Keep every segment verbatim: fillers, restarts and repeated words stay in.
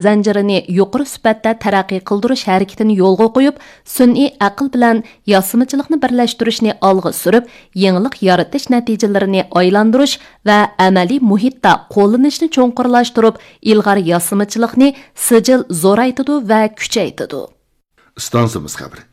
زەنجىرىنى يۇقىرى سۈپەتتە تەرەققىي قىلدۇرۇش ھەرىكىتىنى يولغا قويۇپ، سۈنئىي ئەقىل بىلەن ياسىمىچىلىقنى بىرلەشتۈرۈشنى ئالغا سۈرۈپ، يېڭىلىق يارىتىش نەتىجىلىرىنى ئايلاندۇرۇش ۋە ئەمەلىي مۇھىتتا قوللىنىشنى چوڭقۇرلاشتۇرۇپ، ئىلغار ياسىمىچىلىقنى سىجىل زورايتىدۇ ۋە كۈچەيتىدۇ. ئىستانسىمىز خەۋىرى.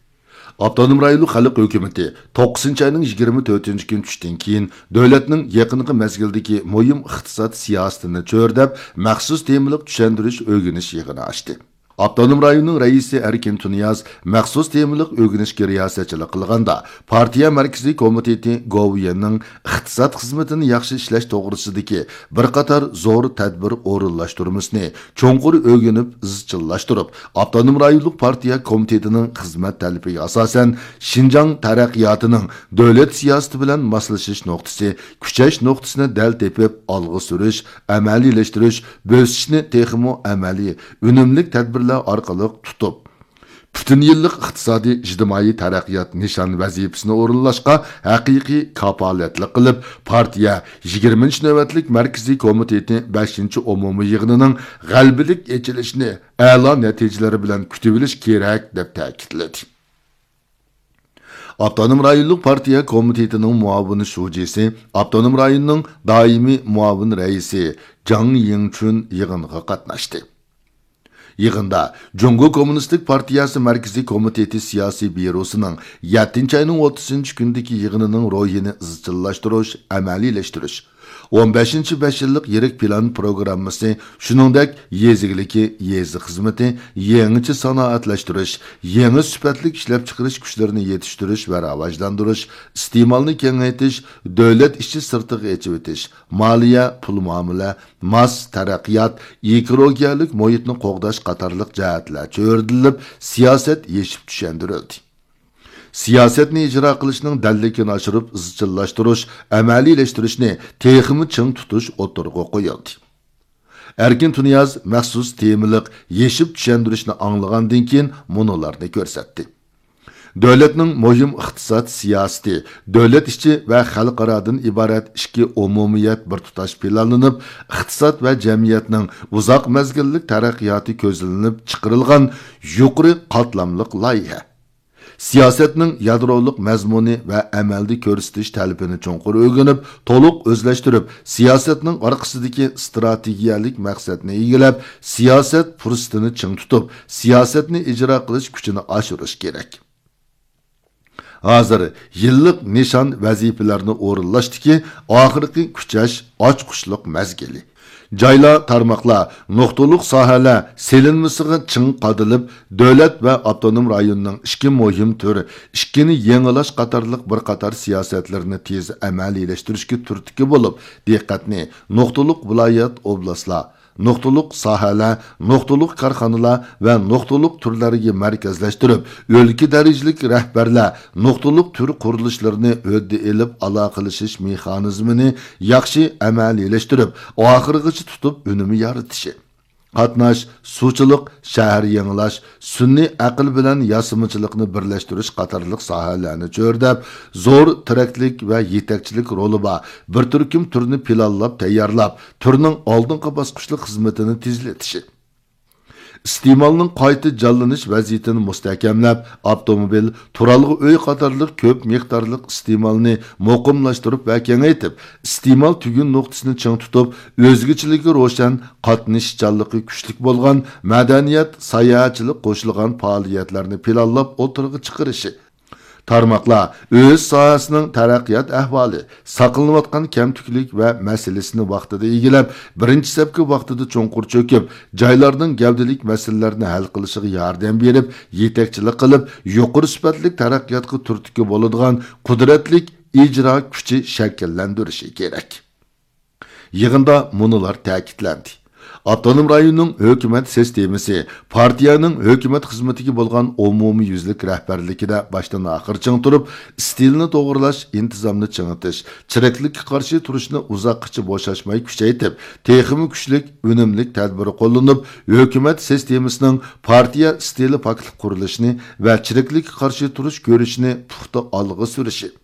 ئاپتونوم رايونلۇق خەلق ھۆكۈمىتى توققۇزىنچى ئاينىڭ يىگىرمە تۆتىنچى كۈنى چۈشتىن كېيىن، دۆلەتنىڭ يېقىنقى مەزگىلدىكى مۇھىم ئىقتىساد سىياسىتىنى چۆرىدەپ، مەخسۇس تېمىلىق چۈشەندۈرۈش ئۆگىنىش يىغىنى ئاچتى. ئاپتونوم رايوننىڭ رەئىسى ئەركىن تۇنىياز مەخسۇس تېمىلىق ئۆگىنىشكە رىياسەتچىلىك قىلغاندا، پارتىيە مەركىزىي كومىتېتى گوۋۇيۈەننىڭ ئىقتىساد خىزمىتىنى ياخشى ئىشلەش توغرىسىدىكى بىر قاتار زور تەدبىر ئورۇنلاشتۇرمىسىنى چوڭقۇر ئۆگىنىپ ئىزچىللاشتۇرۇپ، ئاپتونوم رايونلۇق پارتىيە كومىتېتىنىڭ خىزمەت تەلىپىگە ئاساسەن، شىنجاڭ تەرەققىياتىنىڭ دۆلەت سىياسىتى بىلەن ماسلىشىش نۇقتىسى، كۈچەش نۇقتىسىنى دەل تېپىپ، ئالغا سۈرۈش، ئەمەلىيلەشتۈرۈش، بۆسۈشنى تېخىمۇ ئەمەلىي، ئۈنۈملۈك تەدبىرلەر ئارقىلىق تۇتۇپ، پۈتۈن يىللىق ئىقتىسادىي، ئىجتىمائىي تەرەققىيات نىشان ۋەزىپىسىنى ئورۇنلاشقا ھەقىقىي كاپالەتلىك قىلىپ، پارتىيە يىگىرمىنچى نۆۋەتلىك مەركىزىي كومىتېتى بەشىنچى ئومۇمىي يىغىنىنىڭ غەلىبىلىك ئېچىلىشىنى ئەلا نەتىجىلىرى بىلەن كۈتۈۋېلىش كېرەك، دەپ تەكىتلىدى. ئاپتونوم رايونلۇق پارتىيە كومىتېتىنىڭ مۇئاۋىن شۇجىسى، ئاپتونوم رايوننىڭ دائىمىي مۇئاۋىن رەئىسى جاڭ يىڭچۈن يىغىنغا قاتناشتى. يىغىندا جۇڭگو كوممۇنىستىك پارتىيەسى مەركىزىي كومىتېتى سىياسىي بيۇروسىنىڭ يەتتىنچى ئاينىڭ ئوتتۇزىنچى كۈنىدىكى يىغىنىنىڭ روھىنى ئىزچىللاشتۇرۇش، ئەمەلىيلەشتۈرۈش، ئون بەشىنچى بەش يىللىق يىرىك پىلان پروگراممىسى، شۇنىڭدەك يېزا ئىگىلىكى، يېزا خىزمىتى، يېڭىچە سانائەتلەشتۈرۈش، يېڭى سۈپەتلىك ئىشلەپچىقىرىش كۈچلىرىنى يېتىشتۈرۈش ۋە راۋاجلاندۇرۇش، ئىستېمالنى كېڭەيتىش، دۆلەت ئىچى سىرتىغا ئېچىۋېتىش، مالىيە، پۇل مۇئامىلە، ماس تەرەققىيات، ئېكولوگىيەلىك مۇھىتنى قوغداش قاتارلىق جەھەتلەر چۆرىدىلىپ، سىياسەت يېشىپ چۈشەندۈرۈلدى. سىياسەتنى ئىجرا قىلىشنىڭ دەللىكىنى ئاشۇرۇپ ئىزچىللاشتۇرۇش، ئەمەلىيلەشتۈرۈشنى تېخىمۇ چىڭ تۇتۇش ئوتتۇرىغا قويۇلدى. ئەركىن تۇنىياز مەخسۇس تېمىلىق يېشىپ چۈشەندۈرۈشنى ئاڭلىغاندىن كېيىن مۇنۇلارنى كۆرسەتتى. دۆلەتنىڭ مۇھىم ئىقتىساد سىياسىتى، دۆلەت ئىچى ۋە خەلقئارادىن ئىبارەت ئىككى ئومۇمىيەت بىر تۇتاش پىلانلىنىپ، ئىقتىساد ۋە جەمئىيەتنىڭ ئۇزاق مەزگىللىك تەرەققىياتى كۆزلىنىپ چىقىرىلغان يۇقىرى قاتلاملىق لايىھە. سىياسەتنىڭ يادرولۇق مەزمۇنى ۋە ئەمەلدە كۆرسىتىش تەلىپىنى چوڭقۇر ئۆگىنىپ، تولۇق ئۆزلەشتۈرۈپ، سىياسەتنىڭ ئارقىسىدىكى ئىستراتېگىيەلىك مەقسەتنى ئىگىلەپ، سىياسەت پۇرسىتىنى چىڭ تۇتۇپ، سىياسەتنى ئىجرا قىلىش كۈچىنى ئاشۇرۇش كېرەك. ھازىر يىللىق نىشان ۋەزىپىلەرنى ئورۇنلاشتىكى ئاخىرقى كۈچەش، ئاچقۇچلۇق مەزگىلى. جايلار، تارماقلار، نۇقتىلىق ساھەلەر سېلىنمىسىغا چىڭ قادىلىپ، دۆلەت ۋە ئاپتونوم رايوننىڭ ئىككى مۇھىم تۈر، ئىككىنى يېڭىلاش قاتارلىق بىر قاتار سىياسەتلىرىنى تېز ئەمەلىيلەشتۈرۈشكە تۈرتكە بولۇپ، دىققەتنى نۇقتىلىق ۋىلايەت، ئوبلاستلار، نۇقتىلىق ساھەلەر، نۇقتىلىق كارخانىلار ۋە نۇقتىلىق تۈرلەرگە مەركەزلەشتۈرۈپ، ئۆلكە دەرىجىلىك رەھبەرلەر نۇقتىلىق تۈر قۇرۇلۇشلىرىنى ھۆددە ئېلىپ، ئالاقىلىشىش مېخانىزمىنى ياخشى ئەمەلىيلەشتۈرۈپ، ئاخىرغىچە تۇتۇپ ئۈنۈم يارىتىشى. قاتناش، سۇچىلىق، شەھەر يېڭىلاش، سۈنئىي ئەقىل بىلەن ياسىمىچىلىقنى بىرلەشتۈرۈش قاتارلىق ساھەلەرنى چۆرىدەپ، زور تىرەكلىك ۋە يېتەكچىلىك رولى بار بىر تۈركۈم تۈرنى پىلانلاپ تەييارلاپ، تۈرنىڭ ئالدىنقى باسقۇچلۇق خىزمىتىنى تېزلىتىشى. ئىستېمالنىڭ قايتا جانلىنىش ۋەزىيىتىنى مۇستەھكەملەپ، ئاپتوموبىل، تۇرالغۇ ئۆي قاتارلىق كۆپ مىقدارلىق ئىستېمالنى مۇقىملاشتۇرۇپ ۋە كېڭەيتىپ، ئىستېمال تۈگۈن نۇقتىسىنى چىڭ تۇتۇپ، ئۆزگىچىلىكى روشەن، قاتنىشىشچانلىقى كۈچلۈك بولغان مەدەنىيەت، ساياھەتچىلىك قوشۇلغان پائالىيەتلەرنى پىلانلاپ ئوتتۇرىغا چىقىرىشى. تارماقلار ئۆز ساھەسىنىڭ تەرەققىيات ئەھۋالى، ساقلىنىۋاتقان كەمتۈكلۈك ۋە مەسىلىسىنى ۋاقتىدا ئىگىلەپ، بىرىنچى سەپكە ۋاقتىدا چوڭقۇر چۆكۈپ، جايلارنىڭ گەۋدىلىك مەسىلىلەرنى ھەل قىلىشىغا ياردەم بېرىپ، يېتەكچىلىك قىلىپ، يۇقىرى سۈپەتلىك تەرەققىياتقا تۈرتكە بولىدىغان قۇدرەتلىك ئىجرا كۈچى شەكىللەندۈرۈشى كېرەك. يىغىندا مۇنۇلار تەكىتلەندى: ئاپتونوم رايوننىڭ ھۆكۈمەت سىستېمىسى، پارتىيەنىڭ ھۆكۈمەت خىزمىتىگە بولغان ئومۇميۈزلۈك رەھبەرلىكىدە باشتىن ئاخىر چىڭ تۇرۇپ، ئىستىلنى توغرىلاش، ئىنتىزامنى چىڭىتىش، چىرىكلىككە قارشى تۇرۇشنى ئۇزاققىچە بوشاشماي كۈچەيتىپ، تېخىمۇ كۈچلۈك، ئۈنۈملۈك تەدبىر قوللىنىپ، ھۆكۈمەت سىستېمىسىنىڭ پارتىيە ئىستىلى پاكلىق قۇرۇلۇشىنى ۋە چىرىكلىككە قارشى تۇرۇش كۈرىشىنى پۇختا ئالغا سۈرۈشى.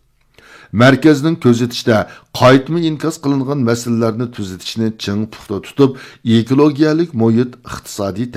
مەركەزنىڭ كۆزىتىشىدە، قايتما ئىنكاس قىلىنغان مەسىلىلەرنى تۈزىتىشنى چىڭ پۇختا تۇتۇپ، ئېكولوگىيەلىك مۇھىت، ئىقتىسادىي